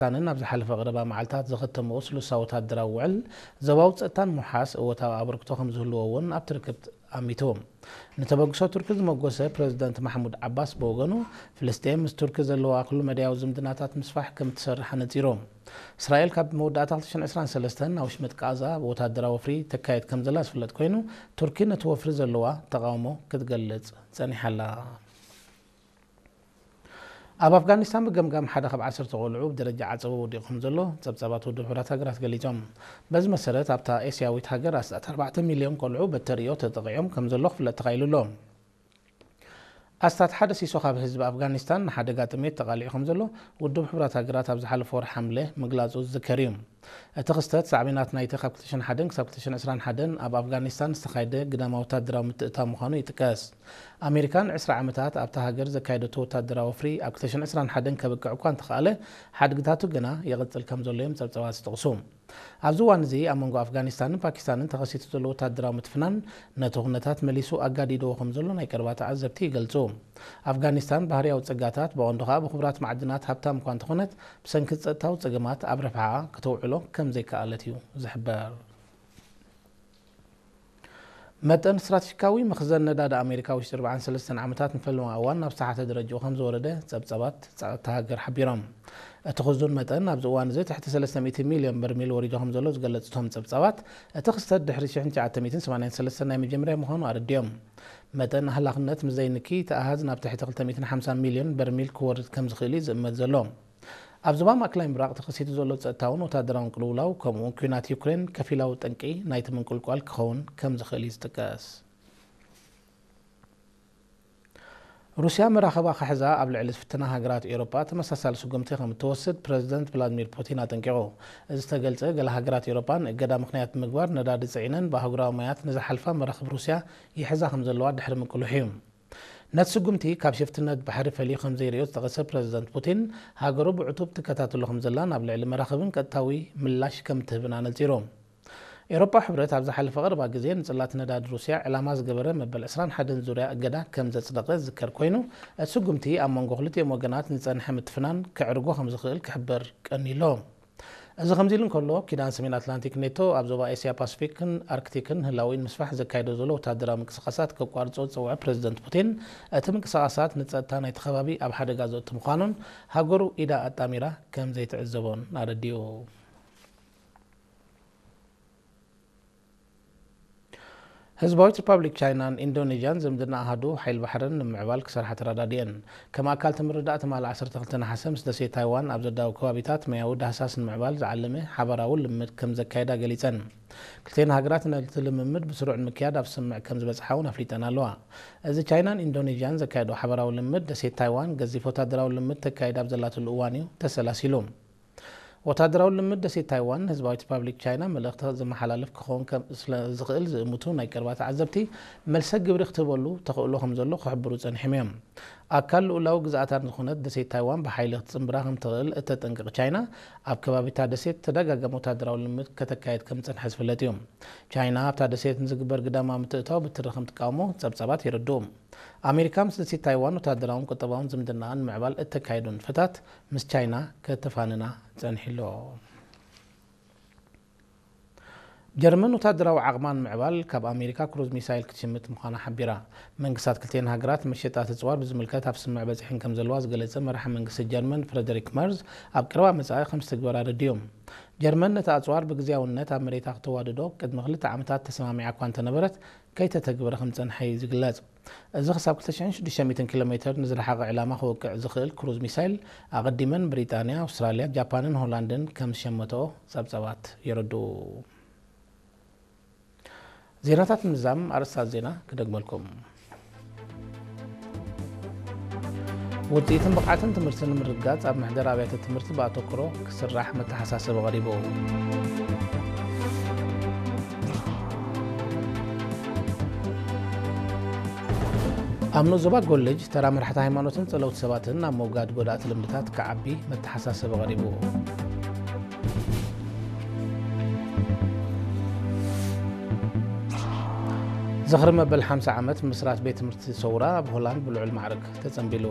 ፓኪስታንን ኣብ ዝሓለፈ ቀረባ መዓልታት ዘኸተምዎ ስሉሳዊ ወታደራዊ ውዕል ዞባዊ ጸጥታን ምውሓስ እወታዊ ኣበርክቶ ከም ዝህልዎ እውን ኣብቲ ርክብ ኣሚቱ። ንተበግሶ ቱርኪ ዝመጎሰ ፕረዚደንት ማሕሙድ ዓባስ ብወገኑ፣ ፍልስጤም ምስ ቱርኪ ዘለዋ ኩሉ መዳያዊ ዝምድናታት ምስፋሕ ከም እትሰርሕ ኣነጺሩ። እስራኤል ካብ መወዳእታ ክልተ ሽሕን ዕስራን ሰለስተን ናብ ውሽመጥ ቃዛ ወታደራዊ ወፍሪ ተካየድ ከም ዘላ ዝፍለጥ ኮይኑ፣ ቱርኪ ነቲ ወፍሪ ዘለዋ ተቓውሞ ክትገልጽ ጸኒሓ ኣላ። ኣብ ኣፍጋኒስታን ብገምጋም ሓደ ካብ ዓሰርተ ቆልዑ ብደረጃ ዓጸቦ ወዲቑ ከም ዘሎ ጸብጻባት ውድብ ሕቡራት ሃገራት ገሊጾም። በዚ መሰረት ኣብታ ኤስያዊት ሃገር ኣስታት ኣርባዕተ ሚልዮን ቆልዑ በተርእዮ ተጠቒዖም ከም ዘሎ ክፍለጥ ተኻኢሉ ኣሎ። ኣስታት ሓደ ሲሶ ካብ ህዝቢ ኣፍጋኒስታን ንሓደጋ ጥሜት ተቓሊዑ ከም ዘሎ ውድብ ሕቡራት ሃገራት ኣብ ዝሓለፈ ወርሒ ሓምለ ምግላጹ ዝዝከር እዩ። እቲ ክስተት ሳዕቤናት ናይቲ ካብ ክልተ ሽሕን ሓደን ክሳብ ክልተ ሽሕን ዕስራን ሓደን ኣብ ኣፍጋኒስታን ዝተኻየደ ግዳማዊ ወታደራዊ ምትእትታው ምዃኑ ይጥቀስ። ኣሜሪካ ንዕስራ ዓመታት ኣብታ ሃገር ዘካየደቶ ወታደራዊ ወፍሪ ኣብ ክልተ ሽሕን ዕስራን ሓደን ከብቅዕ እኳ እንተኸኣለ፣ ሓድግታቱ ግና ይቕጽል ከም ዘሎ እዮም ጸብጻባት ዝጠቕሱ። ኣብዚ እዋን እዚ ኣብ መንጎ ኣፍጋኒስታንን ፓኪስታንን ተኸሲቱ ዘሎ ወታደራዊ ምትፍናን ነቲ ኩነታት መሊሱ ኣጋዲድዎ ከም ዘሎ ናይ ቀረባ ተዓዘብቲ ይገልጹ። ኣፍጋኒስታን ባህርያዊ ጸጋታት ብቐንዱ ከኣ ብኽቡራት ማዕድናት ሃብታም እኳ እንተኾነት፣ ብሰንኪ ጸጥታዊ ጸገማት ኣብ ረብሓኣ ከተውዕሎ ከም ዘይከኣለት እዩ ዝሕበር። መጠን ስትራቴጂካዊ መኽዘን ነዳዲ ኣሜሪካ ውሽጢ ኣርባዓን ሰለስተን ዓመታት ንፈለማ እዋን ናብ ዝተሓተ ደረጃኡ ከም ዝወረደ ጸብጻባት ጸጥታ ሃገር ሓቢሮም። እቲ ክዙን መጠን ኣብዚ እዋን እዚ ትሕቲ ሰለስተ ሚእቲ ሚልዮን በርሚል ወሪዱ ከም ዘሎ ዝገለጹ እቶም ጸብጻባት፣ እቲ ክስተት ድሕሪ ሽሕን ትሽዓተ ሚእትን ሰማንያን ሰለስተን ናይ መጀመርያ ምዃኑ ኣረዲኦም። መጠን ኣህላኽነት ምስ ዘይንኪ፣ እቲ ኣሃዝ ናብ ትሕቲ ክልተ ሚእትን ሓምሳን ሚልዮን በርሚል ክወርድ ከም ዝኽእል እዩ ዝእመት ዘሎ። ኣብ ዞባ ማእከላይ ምብራቕ ተኸሲቱ ዘሎ ጸጥታውን ወታደራውን ቅልውላው፣ ከምኡ'ውን ኲናት ዩክሬን ከፊላዊ ጠንቂ ናይቲ ምንቁልቋል ክኸውን ከም ዝኽእል እዩ ዝጥቀስ። ሩስያ መራኽባ ክሕዛ ኣብ ልዕሊ ዝፍትና ሃገራት ኤውሮጳ ተመሳሳሊ ስጉምቲ ከም እትወስድ ፕረዚደንት ቭላድሚር ፑቲን ኣጠንቂቑ። እዚ ዝተገልጸ፣ ገለ ሃገራት ኤውሮጳ ንእገዳ ምኽንያት ብምግባር ነዳዲ ጽዒነን ብኣህጉራዊ ማያት ንዝሓልፋ መራኽብ ሩስያ ይሕዛ ከም ዘለዋ ድሕሪ ምቅልሑ እዩ። ነቲ ስጉምቲ ካብ ሽፍትነት ባሕሪ ፈልዩ ከም ዘይርእዮ ዝጠቐሰ ፕረዚደንት ፑቲን፣ ሃገሩ ብዕቱብ ትከታተሎ ከም ዘላን ኣብ ልዕሊ መራኽብን ቀጥታዊ ምላሽ ከም እትህብን ኣነጺሩ። ኤውሮጳ ሕብረት ኣብ ዝሓለፈ ቀረባ ግዜ ንጽላት ነዳዲ ሩስያ ዕላማ ዝገበረ መበል ዕስራን ሓደን ዙርያ እገዳ ከም ዘጽደቐ ዝዝከር ኮይኑ፣ እቲ ስጉምቲ ኣብ መንጎ ክልቲኦም ወገናት ዝጸንሐ ምትፍናን ከዕርጎ ከም ዝኽእል ክሕበር ቀኒሎ። እዚ ከምዚ ኢሉ እንከሎ፣ ኪዳን ሰሜን ኣትላንቲክ ኔቶ ኣብ ዞባ ኤስያ ፓሲፊክን ኣርክቲክን ህላዊ ንምስፋሕ ዘካይዶ ዘሎ ወታደራዊ ምንቅስቓሳት ከቋርጾ ዝጸውዐ ፕረዚደንት ፑቲን፣ እቲ ምንቅስቓሳት ንጸጥታ ናይቲ ከባቢ ኣብ ሓደጋ ዘእቱ ምዃኑን ሃገሩ ኢዳ ኣጣሚራ ከም ዘይትዕዘቦን ኣረዲኡ። ህዝባዊት ሪፓብሊክ ቻይናን ኢንዶኔዥያን ዝምድና ኣሃዱ ሓይል ባሕርን ንምዕባል ክሰርሓ ተረዳዲኤን። ከም ኣካል እቲ ምርድዳእ ትማሊ ዓሰርተ ክልተ ነሓሰ ምስ ደሴት ታይዋን ኣብ ዘዳውብ ከባቢታት መያዊ ዳህሳስ ንምዕባል ዝዓለመ ሓባራዊ ልምምድ ከም ዘካየዳ ገሊጸን። ክልቴን ሃገራት ነቲ ልምምድ ብስሩዕ ንምክያድ ኣብ ስምምዕ ከም ዝበጽሓ እውን ኣፍሊጠን ኣለዋ። እዚ ቻይናን ኢንዶኔዥያን ዘካየዶ ሓባራዊ ልምምድ ደሴት ታይዋን ገዚፍ ወታደራዊ ልምምድ ተካይድ ኣብ ዘላትሉ እዋን እዩ ተሰላሲሉ። ወታደራዊ ልምምድ ደሴት ታይዋን ንህዝባዊት ሪፓብሊክ ቻይና መልእኽቲ ዘመሓላልፍ ክኸውን ከም ስለ ዝኽእል ዝእምቱ ናይ ቀረባ ተዓዘብቲ፣ መልሰ ግብሪ ክትህበሉ ተኽእሎ ከም ዘሎ ክሕብሩ ጸኒሖም እዮም። ኣካል ልኡላዊ ግዝኣታ ዝኾነት ደሴት ታይዋን ብሓይሊ ክትጽንብራ ከም ትኽእል እተጠንቅቕ ቻይና፣ ኣብ ከባቢታ ደሴት ተደጋጋሚ ወታደራዊ ልምምድ ከተካየድ ከም ዝጸንሐ ዝፍለጥ እዩ። ቻይና ኣብታ ደሴት ንዝግበር ግዳማዊ ምትእትታው ብትሪ ከም ትቃወሞ ጸብጻባት የረድኡ። ኣሜሪካ ምስ ደሴት ታይዋን ወታደራውን ቁጠባውን ዝምድናኣ ንምዕባል እተካየዶ ንጥፈታት ምስ ቻይና ከተፋንና ጸኒሑ ኣሎ። ጀርመን ወታደራዊ ዓቕማ ንምዕባል ካብ ኣሜሪካ ክሩዝ ሚሳይል ክትሽምት ምዃና ሓቢራ። መንግስታት ክልቲኤን ሃገራት መሸጣ ኣጽዋር ብዝምልከት ኣብ ስምምዕ በጺሐን ከም ዘለዋ ዝገለጸ መራሒ መንግስቲ ጀርመን ፍረደሪክ መርዝ፣ ኣብ ቀረባ መጻኢ ከም ዝትግበር ኣረዲኡ። ጀርመን ነቲ ኣጽዋር ብግዝያውነት ኣብ መሬታ ክተዋድዶ ቅድሚ ክልተ ዓመታት ተሰማሚዓ እኳ እንተነበረት፣ ከይተተግበረ ከም ዝጸንሐ እዩ ዝግለጽ። እዚ ክሳብ ክልተ ሽሕን ሽዱሽተ ሚእትን ኪሎ ሜተር ንዝረሓቐ ዕላማ ክወቅዕ ዝኽእል ክሩዝ ሚሳይል፣ ኣቐዲመን ብሪጣንያ፣ ኣውስትራልያ፣ ጃፓንን ሆላንድን ከም ዝሸመተኦ ጸብጻባት የረድኡ። ዜናታት ምዛም ኣርእስታት ዜና ክደግመልኩም። ውጽኢትን ብቕዓትን ትምህርቲ ንምርግጋጽ ኣብ መሕደር ኣብያተ ትምህርቲ ብኣተኩሮ ክስራሕ መተሓሳሰቢ ቀሪቡ። ኣብ ንኡስ ዞባ ጎልጅ ተራ መራሕቲ ሃይማኖትን ጸለውቲ ሰባትን ኣብ ምውጋድ ጎዳእቲ ልምድታት ክዓቢ መተሓሳሰቢ ቀሪቡ። ዝኽሪ መበል ሓምሳ ዓመት ምስራት ቤት ትምህርቲ ሰውራ ኣብ ሆላንድ ብልዑል ማዕርግ ተጸንቢሉ።